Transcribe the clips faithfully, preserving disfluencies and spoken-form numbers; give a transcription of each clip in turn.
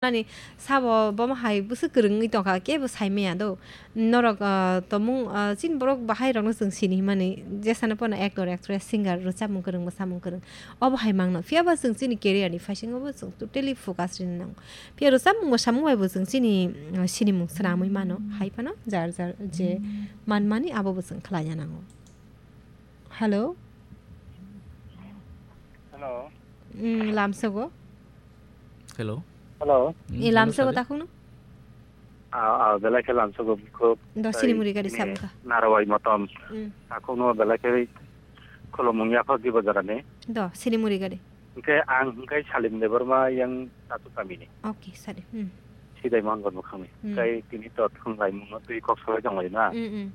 Nani sabo bomo hai bwswk kwrwngwi tongkha, kebo saimaya do. Norok, ah, tomung, ah, chini borok bahai rokno chwng sini himani, jesano pono actor, actress, singer, rwchapmung kwrwng, mwsamung kwrwng. Obo hai mangno. Phiya ba chwng chini career ni phaisingo bo chwng totally focus rini nango. Phiya rwchapmung mwsamung bai bo chwng chini, ah, sinimung swnamwi mano. Hai phano jar jar je manmani abo bo chwng khlaina nango. Hello? Hello. Mm, lamsogo? Hello. Hello. Mm, Eh, hello, lamsogo sir. Takhukno? Ah, ah, belai khe lamsogo khub. Do sini muri gari sabukha. Narwai motom. Mm. Takhukno belai khe khulumung yaphak di bajarani. Do sini muri gari. Hingke ang hingke Salim Debbarma yang Tatu kamini. Okay, sir. Mm. Sidai Mohanpur bukhangni. Mm. Hingke tini to thwnglai mungno twi kok salai tonglaina. Mm, mm.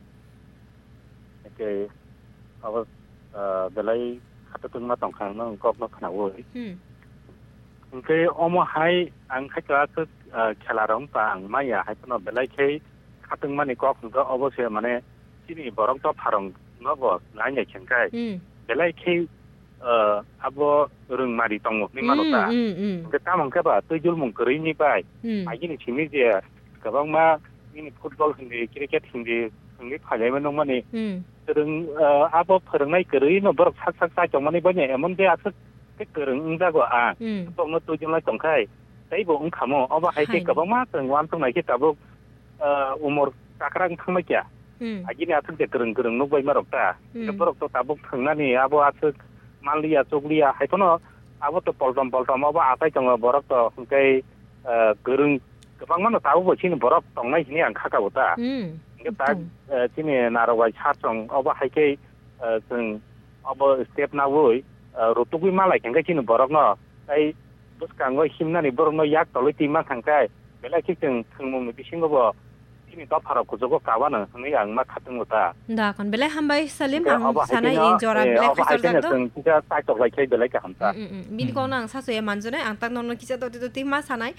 Hingke abo, ah, belai khato tongma tongkha ang nang kokno khnaui. Hmm. Hingke omo hai ang khaito aswk, ah, khela rok wngkha ang maya hai phano belai khe khatungmani kok hingke obo se mane chini borok dopha rok no bo nai nai khe hingke Hmm. belai khe, ah, abo rwngmari tongo hinwi mano Hmm, ta. Hmm, hmm. Hingke tamo hingke ba twi julmung kwrwi ni bai Hmm. agini simi je kwbangma nini football hindi, cricket hindi, hindi phailai mano mani. Hmm. Kwrwng, ah, abo phwrwngnai kwrwi no borok sak sak chai tongmani banya emon je aswk khe kwrwng wngjago ang. Hmm. Bokno twijlai tongkhai, teibo wngkhamo. Obo hai khe Hai. Kwbangma chwng uansuk nai khe tabuk, ah, umor chakra wng thangma kya. Hmm. Agini aswk je kwrwng kwrwng nukbai ma rok ta. Hmm. Borok to tabuk thwngnani abo aswk manliya chukliya hai phano abo to poltom poltom obo achai tongo borok to hwnkhe, ah, kwrwng kwbangma no tabuk bo chini borok tongnai hwnwi ang kha kabo ta. Hmm. Hwnkhe ta, Tong. Ah, chini narok bai sar chwng obo hai khe, ah, chwng obo step naui, ah, rutugwi malai khe chini borokno tei bwskango himnani borokno yak tolwi twi ma thangkhe belai khe chwng thwngmungni bisingo bo chini dopharok kuchugo kabano hwnwi ang ma khatungo ta. Da kon belai hambai Salim, Hwnkhe ang obo hai sanai kheno, i jora eh, belai obo hai kheno khasarjak do. Chwng kisa chaitok lai khe belai kaham ta. Mm, mm, mm. Bini Hmm. kokno ang sasu ya manjunai, ang tak nokno kisa doti doti ma sanai.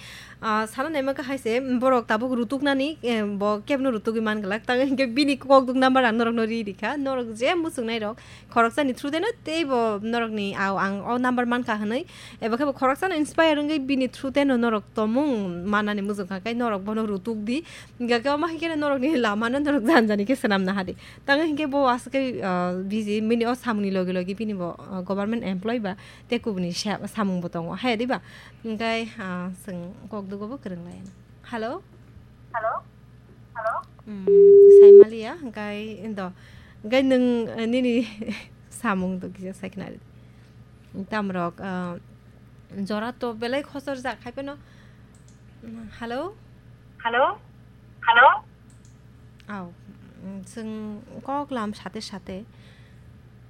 Ah, sana naima khe hai se, borok tabuk rutuknani, eh, bo kebno rutugwi man glak. Tang hwnkhe bini kokduk number ang norokno ri rikha. Norok je muchungnai rok, khoroksani through deno teibo norokni au ang o number mankha hwnwi. Eba khe bo khoroksano inspire wngwi bini through deno norok tomung manani muchungkha khe norok bono rutuk di. Hingkha khe omo hai kheno norokni lamano norok jani jani khe swnamna hadi. Tang hwnkhe bo aswk khe, ah, busy, bini o samungni logi logi bini bo, ah, government employee ba tei kubuni sa-, samung bo tongo. Hai di ba? Hingkhe, ah, chwng kokdugo bo kwrwng lai. Hello? Hello? Hello? Mm, saimaliya, hingkhe do. Hingkhe nwng, eh, nini samung do kisa saikna ri. Tamrok, ah, jora to belai khosor jak hai phano. Hello? Hello? Hello? Au, mm, chwng kok lam sate sate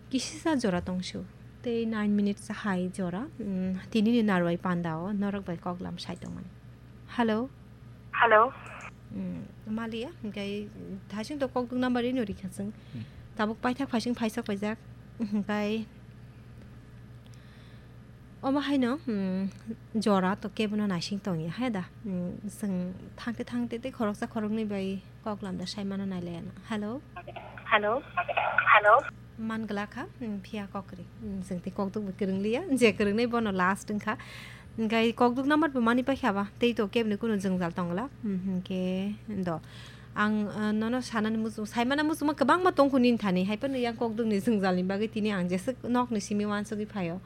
kisisa jora tongsu. Tei nine minutes hai jora, mm, tinini narwai panda o norok bai kok lam sai tongmani. Hello? Hello? Mm, maliya, hingkai thaising to kok duk number ino rikha chwng. Hmm. Tabuk paithak phaising phaisa paijak. Hingkai Omo haino, hmm, jora to kebono naising tongya, hai da? Hmm, chwng thangte thangte tei khoroksa khoroknwi bai kok lamda sai mano nai laiya no. Hello? Hello? Hello? Man glak kha, hmm, phiya kok kwrwi. Hmm, chwng tei kok duk bo kwrwng liya, je kwrwngnai bono last wngkha. Hingkai kok duk number bo mani paikha ba, tei to keboni kunu jwngjal tong glak. Hmm, hingke do. Ang, ah, nono sanani muchung, saimana muchungma kwbangma tongkhu nini thani, hai phano yang kok dukni jwngjalni bagwi tini ang jeswk nokni simi uansugwi phaio,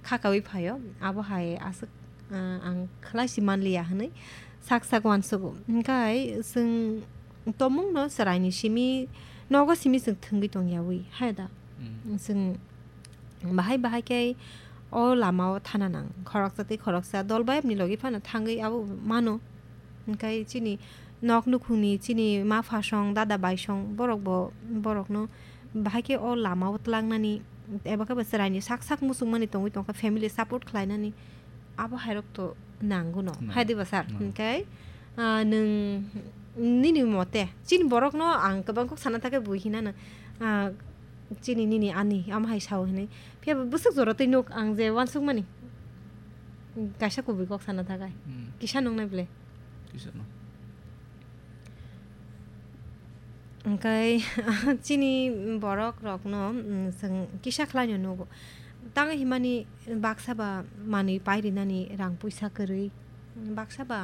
khakaui phaio, abo hai aswk, ah, ang khlai si manliya hwnwi sak sak uansugo. Hwnkhe chwng tomungno chwraini simi, nogo simi chwng thwngwi tongyaui, hai da? Mm. Chwng bahai bahai khe o lamao thana nang. Khoroksa tei khoroksa dol bayapni logi phano thangwi abo mano. Hwnkhe chini nok nukhungni, chini ma pha song, dada bai song, borok bo, borokno bahai khe o lamao twlangnani eba khe bo chwraini sak sak muchungmani tongwi tongkha, family support khlainani. Abo hairok to nango no. Nango. Hai diba sir? Nango. Hwnkhe, ah, nwng nini mote, chini borokno ang kwbang kok sana thakhe bui hinano, ah, chini nini ani, amo hai sao hinwi. Phiya bo bwswk jora twi nuk ang je uansukmani. Kaisa kubui kok sana thakai. Hmm. Kisa nungnai ble. Kisa nung. Hwnkhe chini borok rokno, mm, chwng kisa khlaino nugo. Tang himani baksa ba manwi pairinani rang puisa kwrwi. Baksa ba?